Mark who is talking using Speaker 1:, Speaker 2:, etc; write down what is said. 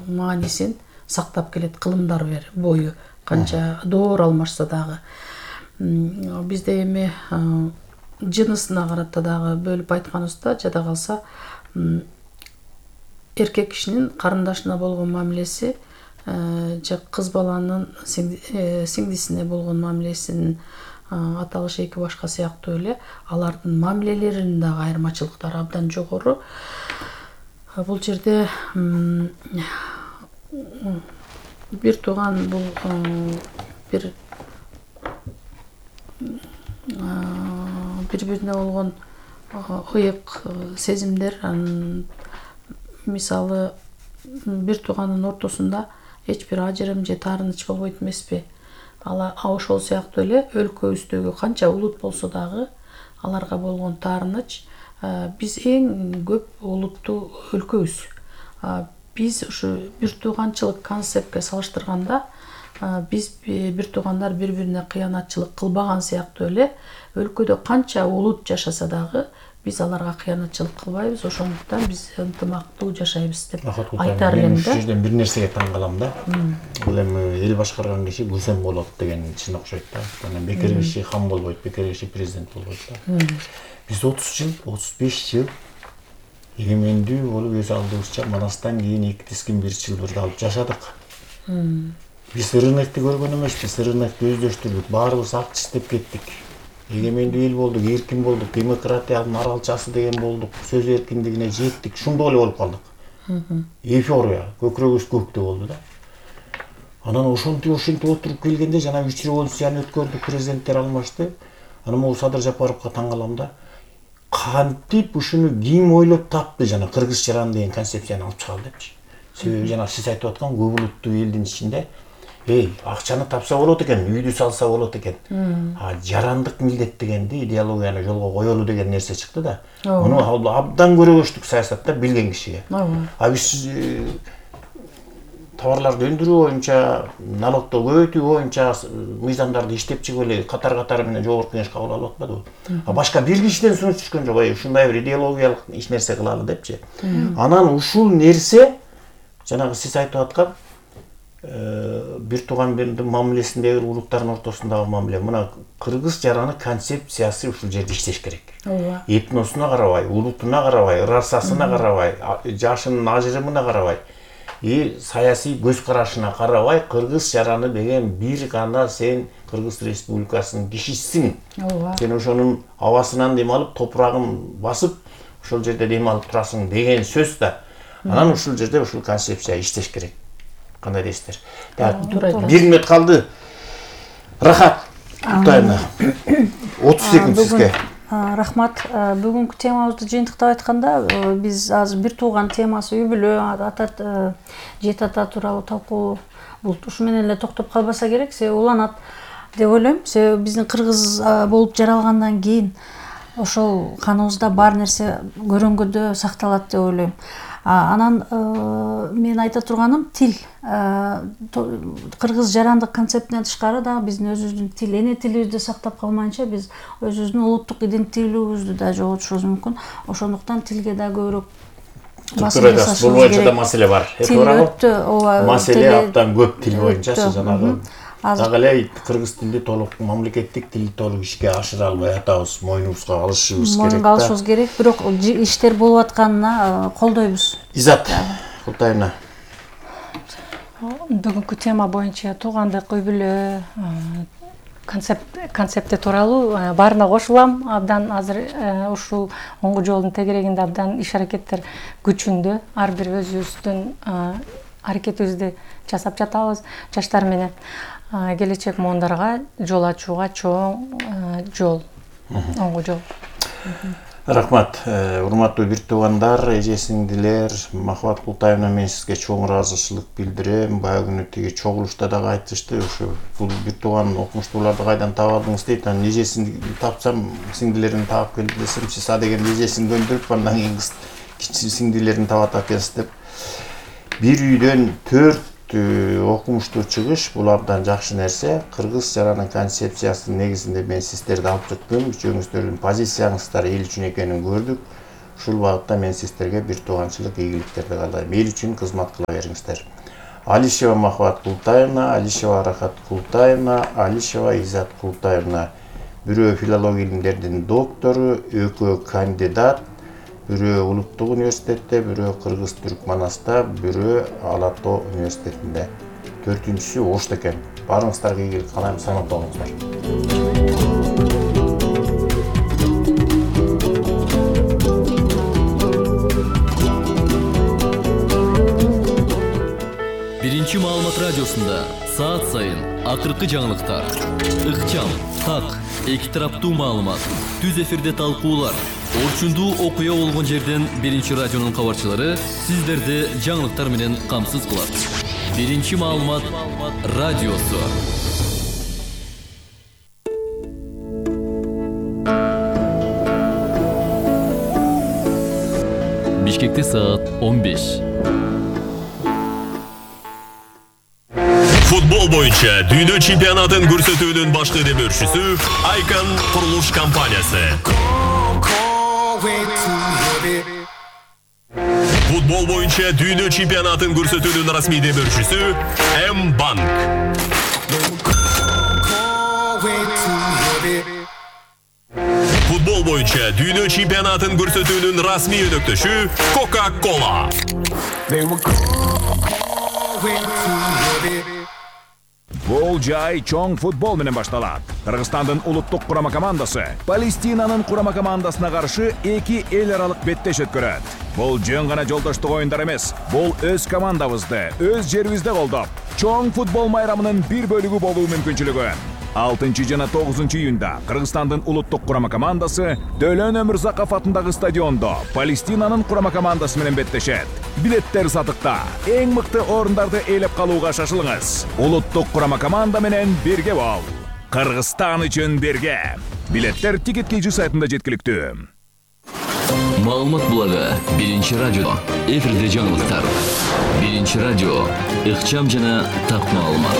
Speaker 1: маанисин сактап келет, кылымдар бою канча доор алмашса дагы. Бизде эми жынысына карата дагы бөлүп айтканыбызда, жада калса эркек кишинин карындашына болгон мамилеси же кыз баланын сиңдисине болгон мамилесинин аталышы эки башка сыяктуу эле алардын мамилелеринин дагы айырмачылыктары абдан жогору. Бул жерде бир тууган бул бири-бирине болгон ыйык сезимдер. Мисалы, бир тууганын ортосунда эч бир ажырым же таарыныч болбойт эмеспи? Ошол сыяктуу эле өлкөбүздөгү канча улут болсо дагы аларга болгон таарыныч, биз эң көп улуттуу өлкөбүз. Биз ушу бир тууганчылык концептке салыштырганда, биз бир туугандар бири-бирине кыянатчылык кылбаган сыяктуу эле өлкөдө канча улут жашаса дагы биз аларга кыянатчылык кылбайбыз. Ошондуктан биз ынтымактуу жашайбыз деп айтар элем да.
Speaker 2: Бул жерден бир нерсеге таң калам да. Бул эми эл башкарган киши күлсем болот деген чын окшойт да. Анан бекер киши хан болбойт, бекер киши президент болбойт да. Биз 30 жыл, 35 жыл эгемендүү болуп өз алдыбызча Манастан кийин 2-1 жыл бирге алып жашадык. Биз рынокты көргөн эмеспиз, рынокты өздөштүрдүк, баарыбыз акча иштеп кеттик. Эгемендүү эл болдук, эркин болдук, демократиянын аралчасы деген болдук, сөз эркиндигине жеттик, ушундой эле болуп калдык. Эйфория, көкүрөгүбүз көктө болду да. Анан ошентип отуруп келгенде жана 3 революцияны өткөрдүк, президенттер алмашты. Анан могу Садыр Жапаровго таң калам да. Кантип ушуну ким ойлоп тапты, жана кыргыз жаран деген концепцияны алып чыгалы депчи. Себеби жана сиз айтып аткан көп улуттуу элдин ичинде акчаны тапса болот экен, үйдү салса болот экен. Жарандык милдет дегенди, идеологияны жолго коелу деген нерсе чыкты да. Муну абдан көрөгөчтүк саясатта билген кишиге. Биз товарларды өндүрүү боюнча, налогду көбөйтүү боюнча мыйзамдарды иштеп чыгып эле катар менен жогорку кеңеш кабыл алып атпадыбы? Башка бир кишиден сунуш түшкөн жок, ушундай бир идеологиялык иш нерсе кылалы депчи. Анан ушул нерсе жанагы сиз айтып аткан бир туугандын мамилесиндеги улуттардын ортосундагы мамиле. Мына кыргыз жараны концепциясы ушул жерде иштеш керек. Этносуна карабай, улутуна карабай, расасына карабай, жашынын ажырымына карабай, саясий көз карашына карабай, кыргыз жараны деген бир гана сен Кыргыз Республикасынын кишисиң. Сен ошонун абасынан дем алып, топурагын басып, ошол жерде дем алып турасың деген сөз да. Анан ушул жерде ушул концепция иштеш керек. Кандай дейсиздер? Бир мүнөт калды. Рахат Кутаевна. 30 секунд сизге.
Speaker 3: Рахмат. Бүгүнкү темабызды жыйынтыктап айтканда, биз азыр бир тууган темасы, үй бүлө, жет ата тууралуу талкуу, бул ушу менен эле токтоп калбаса керек, себеби уланат деп ойлойм. Себеби биздин кыргыз болуп жаралгандан кийин ошол каныбызда бар нерсе көрөнгөдө сакталат деп ойлойм. Анан мен айта турганым тил. Кыргыз жарандык концептинен тышкары да биздин өзүбүздүн тил, эне тилибизди сактап калмайынча биз өзүбүздүн улуттук иденттүүлүгүбүздү да жоготушубуз мүмкүн. Ошондуктан тилге да көбүрөөк басым жасашыбыз керек.
Speaker 2: Бул боюнча да маселе бар.
Speaker 3: Тил
Speaker 2: маселе абдан көп тил боюнча жанагы. Дагы эле кыргыз тилди толук мамлекеттик тилди толук ишке ашыра албай атабыз, мойнубузга алышыбыз керек.
Speaker 3: Мойнуга алышыбыз керек, бирок иштер болуп атканына колдойбуз.
Speaker 2: Изат Кутаевна.
Speaker 4: Бүгүнкү тема боюнча туугандык, үй бүлө, концепти тууралуу баарына кошулам. Абдан азыр ушул оңгу жолдун тегерегинде абдан иш аракеттер күчүндө. Ар бир өзүбүздүн аракетибизди жасап жатабыз жаштар менен. Келечек моондарга жол ачууга чоң жол, оңгу жол.
Speaker 2: Рахмат. Урматтуу бир туугандар, эже-сиңдилер, Махабат Култаевна, мен сизге чоң ыраазычылык билдирем. Баягы күнү тиги чогулушта дагы айтышты, ушу бул бир тууган окумуштууларды кайдан таап алдыңыз дейт. Анан эжесин тапсам, сиңдилерин таап келди десем, сиз адеген эжесин көндүрүп, андан кийин кичи сиңдилерин таап атасыз деп. Бир үйдөн 4 окумуштуу чыгыш, бул абдан жакшы нерсе. Кыргыз жаранын концепциясынын негизинде мен сиздерди алып чыктым. Үчөөңүздөрдүн позицияңыздар эл үчүн экенин көрдүк. Ушул багытта мен сиздерге бир тууганчылык ийгиликтерди каалайм. Эл үчүн кызмат кыла бериңиздер. Алишева Махабат Култаевна, Алишева Рахат Култаевна, Алишева Изат Култаевна. Бирөө филология илимдеринин доктору, экөө кандидат, бирөө Улуттук университетте, бирөө Кыргыз-Түрк Манаста, бирөө Алато университетинде. Төртүнчүсү Ошто экен. Барыңыздарга ийгилик каалайм, саламат болуңуздар.
Speaker 5: Биринчи маалымат радиосунда саат сайын акыркы жаңылыктар, ыкчам, так, эки тараптуу маалымат, түз эфирде талкуулар, орчундуу окуя болгон жерден Биринчи радионун кабарчылары сиздерди жаңылыктар менен камсыз кылат. Биринчи маалымат радиосу. Бишкекте саат 15.
Speaker 6: Футбол боюнча дүйнө чемпионатын көрсөтүүнүн башкы демөөрчүсү Icon курулуш компаниясы. Футбол боюнча дүйнө чемпионатын көрсөтүүнүн расмий демөөрчүсү M-Bank. Футбол боюнча дүйнө чемпионатын көрсөтүүнүн расмий өнөктөшү Coca-Cola.
Speaker 7: Бул жай чоң футбол менен башталат. Кыргызстандын улуттук курама командасы Палестинанын курама командасына каршы эки эл аралык беттеш өткөрөт. Бул жөн гана жолдоштук оюндар эмес. Бул өз командабызды, өз жерибизде колдоп, чоң футбол майрамынын бир бөлүгү болуу мүмкүнчүлүгү. 6 жана 9 июнда Кыргызстандын улуттук курама командасы Дөлөн Өмүрзаков атындагы стадиондо Палестинанын курама командасы менен беттешет. Билеттер сатыкта. Эң мыкты орундарды ээлеп калууга шашылыңыз. Улуттук курама команда менен бирге бол. Кыргызстан үчүн бирге. Билеттер Ticket.kg сайтында жеткиликтүү.
Speaker 5: Маалымат булагы Биринчи радио. Эфирде жаңылыктар. Биринчи радио. Ыкчам жана так маалымат.